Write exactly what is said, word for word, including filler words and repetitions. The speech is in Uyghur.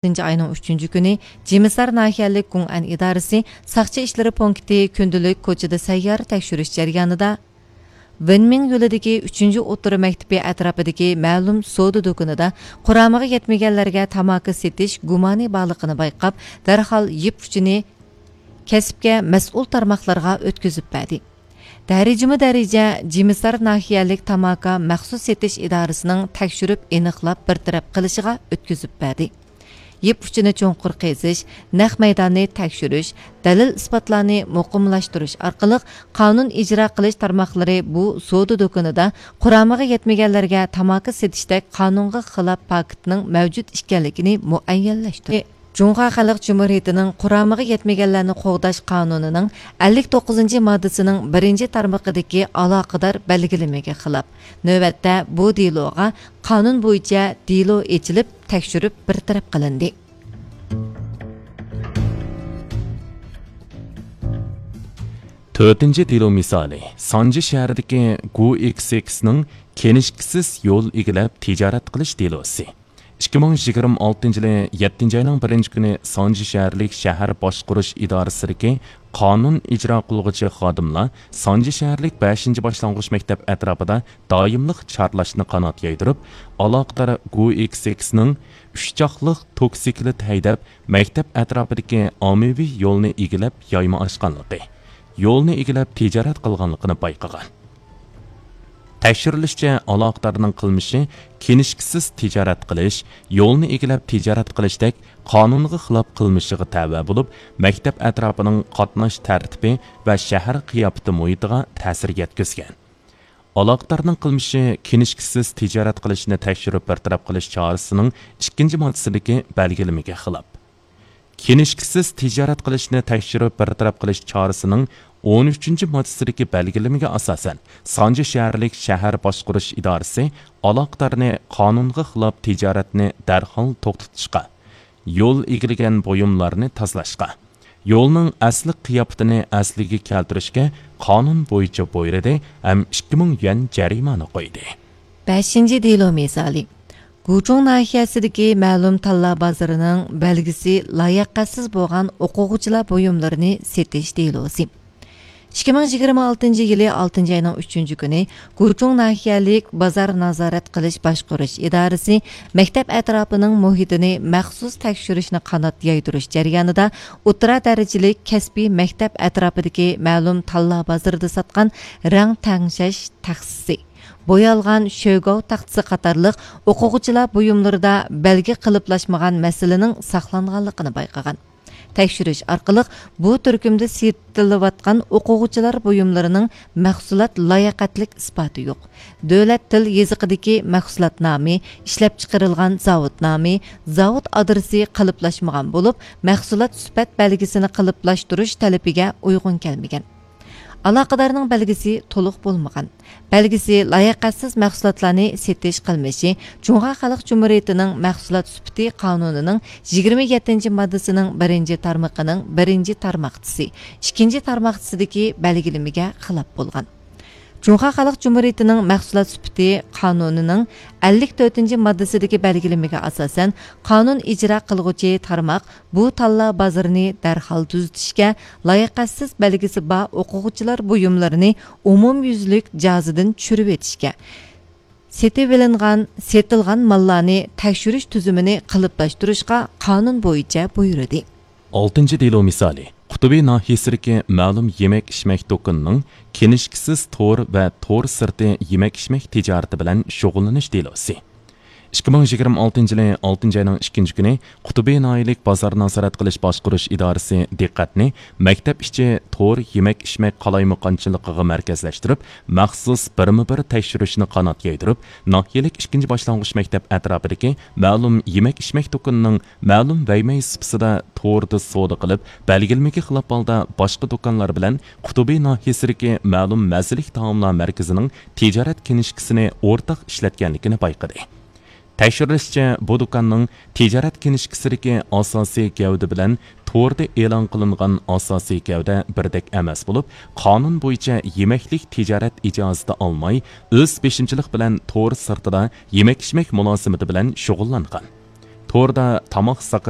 ئالتىنچى ئاينىڭ ئۈچىنچى كۈنى جىمىسار ناھىيەلىك گۇڭئەن ئىدارىسى ساقچى ئىشلىرى پونكىتى كۈندىلىك كوچىدا سەييارە تەكشۈرۈش جەريانىدا، ۋېنمىڭ يولىدىكى ئۈچىنچى ئوتتۇرا مەكتىپى ئەتراپىدىكى مەلۇم سودا دۇكىنىدا قۇرامىغا يەتمىگەنلەرگە تاماكا سېتىش گۇمانى بارلىقىنى بايقاپ، دەرھال يىپ ئۇچىنى كەسىپكە مەسئۇل تارماقلارغا ئۆتكۈزۈپ بەردى. دەرىجىمۇ دەرىجە جىمىسار ناھىيەلىك تاماكا مەخسۇس سېتىش ئىدارىسىنىڭ تەكشۈرۈپ ئېنىقلاپ بىر تەرەپ قىلىشىغا ئۆتكۈزۈپ بەردى. يىپ ئۇچىنى چوڭقۇر قېزىش، نەق مەيداننى تەكشۈرۈش، دەلىل ئىسپاتلارنى مۇقىملاشتۇرۇش ئارقىلىق قانۇن ئىجرا قىلىش تارماقلىرى بۇ سودا دۇكىنىدا قۇرامىغا يەتمىگەنلەرگە تاماكا سېتىشتەك قانۇنغا خىلاپ پاكىتنىڭ مەۋجۇت ئىكەنلىكىنى مۇئەييەنلەشتۈردى. جۇڭخۇا خەلق جۇمھۇرىيىتىنىڭ قۇرامىغا يەتمىگەنلەرنى قوغداش قانۇنىنىڭ ئەللىك توققۇزىنچى ماددىسىنىڭ بىرىنچى تارمىقىدىكى ئالاقىدار بەلگىلىمىگە خىلاپ، نۆۋەتتە بۇ دېلوغا قانۇن بويىچە دېلو ئېچىلىپ، تەكشۈرۈپ بىر تەرەپ قىلىندى. تۆتىنچى دېلو مىسالى، سانجى شەھىرىدىكى گۇ ئېكس ئېكسنىڭ كىنىشكىسىز يول ئىگىلەپ تىجارەت قىلىش دېلوسى. ئىككى مىڭ يىگىرمە ئالتىنچى يىلى يەتتىنچى ئاينىڭ بىرىنچى كۈنى سانجى شەھەرلىك شەھەر باشقۇرۇش ئىدارىسىدىكى قانۇن ئىجرا قىلغۇچى خادىملار سانجى شەھەرلىك بەشىنچى باشلانغۇچ مەكتەپ ئەتراپىدا دائىملىق چارلاشنى قانات يايدۇرۇپ، ئالاقىدار گۇ ئېكس ئېكسنىڭ ئۈچ چاقلىق توكسىكلىت ھەيدەپ، مەكتەپ ئەتراپىدىكى ئاممىۋى يولنى ئىگىلەپ يايما ئاچقانلىقى، يولنى ئىگىلەپ تىجارەت قىلغانلىقىنى بايقىغان. تەكشۈرۈلۈشىچە، ئالاقىدارنىڭ قىلمىشى كىنىشكىسىز تىجارەت قىلىش، يولنى ئىگىلەپ تىجارەت قىلىشتەك قانۇنغا خىلاپ قىلمىشىغا تەۋە بولۇپ، مەكتەپ ئەتراپىنىڭ قاتناش تەرتىپى ۋە شەھەر قىياپىتى مۇھىتىغا تەسىر يەتكۈزگەن. ئالاقىدارنىڭ قىلمىشى كىنىشكىسىز تىجارەت قىلىشنى تەكشۈرۈپ بىر تەرەپ قىلىش چارىسىنىڭ ئىككىنچى ماددىسىدىكى بەلگىلىمىگە خىلاپ. كىنىشكىسىز تىجارەت قىلىشنى تەكشۈرۈپ بىر تەرەپ قىلىش چارىسىنىڭ ئون ئۈچىنچى ماددىسىدىكى بەلگىلىمىگە ئاساسەن، سانجى شەھەرلىك شەھەر باشقۇرۇش ئىدارىسى ئالاقىدارنى قانۇنغا خىلاپ تىجارەتنى دەرھال توختىتىشقا، يول ئىگىلىگەن بۇيۇملارنى تازىلاشقا، يولنىڭ ئەسلى قىياپىتىنى ئەسلىگە كەلتۈرۈشكە قانۇن بويىچە بۇيرۇدى ھەم ئىككى مىڭ يۈەن جەرىمانە قويدى. بەشىنچى دېلو مىسالى. گۇچۇڭ ناھىيەسىدىكى مەلۇم تاللا بازىرىنىڭ بەلگىسى لاياقەتسىز بولغان ئوقۇغۇچىلار بۇيۇملىرىنى سېتىش دېلوسى. ئىككى مىڭ يىگىرمە ئالتىنچى يىلى ئالتىنچى ئاينىڭ ئۈچىنچى كۈنى گۇچۇڭ ناھىيەلىك بازار نازارەت قىلىش باشقۇرۇش ئىدارىسى مەكتەپ ئەتراپىنىڭ مۇھىتىنى مەخسۇس تەكشۈرۈشنى قانات يايدۇرۇش جەريانىدا ئوتتۇرا دەرىجىلىك كەسپىي مەكتەپ ئەتراپىدىكى مەلۇم تاللا بازىرىدا ساتقان رەڭ تەڭشەش تەخسىسى، بويالغان شۆگاۋ تاختىسى قاتارلىق ئوقۇغۇچىلار بۇيۇملىرىدا بەلگە قېلىپلاشمىغان مەسىلىنىڭ ساقلانغانلىقىنى بايقىغان. تەكشۈرۈش ئارقىلىق بۇ تۈركۈمدە سېتىلىۋاتقان ئوقۇغۇچىلار بۇيۇملىرىنىڭ مەھسۇلات لاياقەتلىك ئىسپاتى يوق. دۆلەت تىل يېزىقىدىكى مەھسۇلات نامى، ئىشلەپچىقىرىلغان زاۋۇت نامى، زاۋۇت ئادرېسى قېلىپلاشمىغان بولۇپ، مەھسۇلات سۈپەت بەلگىسىنى قېلىپلاشتۇرۇش تەلىپىگە ئۇيغۇن كەلمىگەن. ئالاقىدارنىڭ بەلگىسى تولۇق بولمىغان. بەلگىسى لاياقەتسىز مەھسۇلاتلارنى سېتىش قىلمىشى جۇڭخۇا خەلق جۇمھۇرىيىتىنىڭ مەھسۇلات سۈپىتى قانۇنىنىڭ يىگىرمە يەتتىنچى ماددىسىنىڭ بىرىنچى تارمىقىنىڭ بىرىنچى تارماقچىسى، ئىككىنچى تارماقچىسىدىكى بەلگىلىمىگە خىلاپ بولغان. جۇڭخۇا خەلق جۇمھۇرىيىتىنىڭ مەھسۇلات سۈپىتى قانۇنىنىڭ ئەللىك تۆتىنچى ماددىسىدىكى بەلگىلىمىگە ئاساسەن، قانۇن ئىجرا قىلغۇچى تارماق بۇ تاللا بازىرىنى دەرھال تۈزىتىشكە، لاياقەتسىز بەلگىسى بار ئوقۇغۇچىلار بۇيۇملىرىنى ئومۇميۈزلۈك جازىدىن چۈشۈرۈۋېتىشكە، سېتىۋېلىنغان، سېتىلغان ماللارنى تەكشۈرۈش تۈزۈمىنى قېلىپلاشتۇرۇشقا قانۇن بويىچە بۇيرۇدى. ئالتىنچى دېلو مىسالى، قۇتۇبى ناھىيەسىدىكى مەلۇم يېمەك-ئىچمەك دۇكىنىنىڭ كىنىشكىسىز تور ۋە تور سىرتى يېمەك-ئىچمەك تىجارىتى بىلەن شۇغۇللىنىش دېلوسى. ئىككى مىڭ يىگىرمە ئالتىنچى يىلى ئالتىنچى ئاينىڭ ئىككىنچى كۈنى قۇتۇبى ناھىيەلىك بازار نازارەت قىلىش باشقۇرۇش ئىدارىسى دىققەتنى مەكتەپ ئىچى تور يېمەك-ئىچمەك قالايمىقانچىلىقىغا مەركەزلەشتۈرۈپ، مەخسۇس بىرمۇ بىر تەكشۈرۈشنى قانات يايدۇرۇپ، ناھىيەلىك ئىككىنچى باشلانغۇچ مەكتەپ ئەتراپىدىكى مەلۇم يېمەك-ئىچمەك دۇكىنىنىڭ مەلۇم ۋەيمەي سۇپىسىدا توردا سودا قىلىپ، بەلگىلىمىگە خىلاپ ھالدا باشقا دۇكانلار بىلەن قۇتۇبى ناھىيەسىدىكى مەلۇم مەززىلىك تائاملار مەركىزىنىڭ تىجارەت كىنىشكىسىنى ئورتاق ئىشلەتكەنلىكىنى بايقىدى. تەكشۈرۈلۈشىچە، بۇ دۇكاننىڭ تىجارەت كىنىشكىسىدىكى ئاساسىي گەۋدە بىلەن توردا ئېلان قىلىنغان ئاساسىي گەۋدە بىردەك ئەمەس بولۇپ، قانۇن بويىچە يېمەكلىك تىجارەت ئىجازىتى ئالماي، ئۆز بېشىمچىلىق بىلەن تور سىرتىدا يېمەك-ئىچمەك مۇلازىمىتى بىلەن شۇغۇللانغان. توردا تاماق ساقاش